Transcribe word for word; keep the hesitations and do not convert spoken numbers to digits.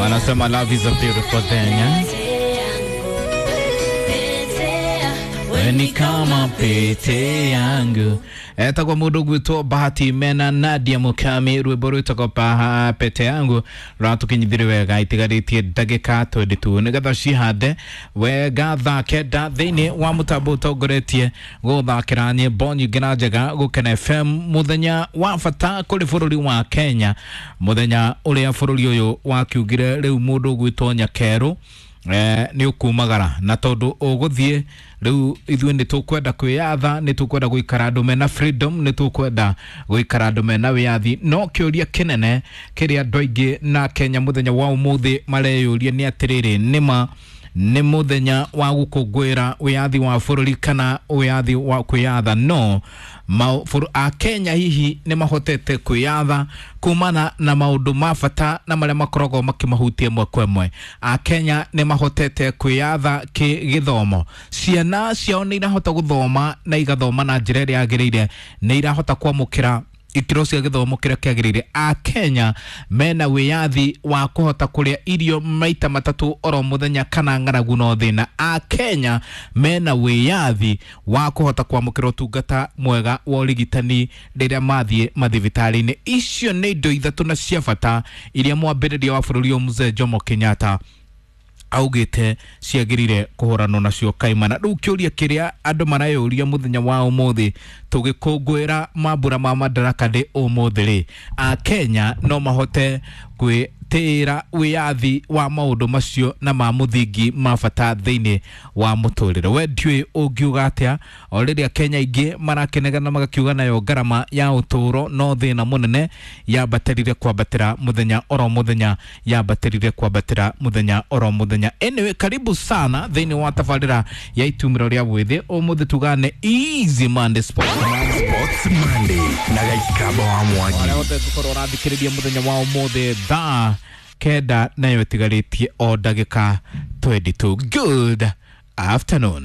Wanasema love is a beautiful thing, eh? Ni kama pete yangu. Etagwo mundu gwitwo Bahati mena Nadia Mukami, rwimbo rwitagwo pete yangu rwatukinyithirie wega itigarĩtie ndagĩka twenty-two nigetha cihande wega thaa kenda thĩinĩ wa mũtambo ũtongoretie gũthakĩra nyĩmbo nyingĩ na njega Gũkena F M, mũthenya wa bata kũrĩ bũrũri wa Kenya, mũthenya ũrĩa bũrũri ũyũ wakiugire rĩu mũndũ gwitwo Nyakerũ eh ni ukumagara na tondu uguthie riu ithuĩ nĩ tũkwenda kwĩyatha, nĩ tũkwenda gũikara andũ mena freedom, nĩ tũkwenda gũikara andũ mena wĩyathi. No kĩũria kĩnene kĩrĩa andũ aingĩ na Kenya mũthenya wa ũmũthĩ mareyũria nĩ atĩrĩrĩ, nĩma nĩ mũthenya wa gũkũngũĩra wĩyathi wa bũrũri kana wĩyathi wa kwĩyatha? No a Kenya hihi nĩ mahotete kwĩyatha kumana na maũndũ ma bata na marĩa makoragwo makĩmahutia ĩmwe kwa ĩmwe? A Kenya nĩ mahotete kwĩyatha kĩgĩthomo? Ciana ciao nĩ irahota gũthoma na igathoma na njĩra ĩrĩa yagĩrĩire? Nĩ irahota kwamũkĩra ikĩro cia gĩthomo kĩrĩa kĩagĩrĩire? A Kenya mena wĩyathi wa kũhota kũrĩa irio maita matatũ oro mũthenya kana ng'aragu no thĩna? A Kenya mena wĩyathi wa kũhota kwamũkĩra ũtungata mwega wa ũrigitani rĩrĩa mathiĩ mathibitarĩ-inĩ? Icio nĩ indo ithatũ na cia bata iria mwambĩrĩria wa bũrũri ũyũ Mzee Jomo Kenyatta augĩte ciagĩrĩire kũhũranwo nacio kaimana. Rĩu kĩũria kĩrĩa andũ mareyũria mũthenya wa ũmũthĩ tũgĩkũngũĩra mambura ma Madaraka Day ũmũthĩ rĩ, a Kenya no mahote gwĩtĩĩra wĩyathi wa maũndũ macio na ma mũthingi ma bata thĩinĩ wa mũtũrĩre? We ndiũĩ ũngiuga atĩa o rĩrĩa Kenya aingĩ marakenegana magakiuga nayo ngarama ya ũtũũro no thĩna mũnene yambatĩrire kwambatĩra mũthenya oro mũthenya, yambatĩrire kwambatĩra mũthenya oro mũthenya. Anyway, karibu sana thĩinĩ wa tabarĩra ya itumĩro rĩa mwĩthĩ ũmũthĩ tugane Easy Monday Sports. Sports Monday na Gaikaba wa Mwangi. Arĩa othe tũkorwo ũrathikĩrĩria mũthenya wa ũmũthĩ thaa kenda nayo ĩtigarĩtie o ndagĩka twenty-two. Good afternoon.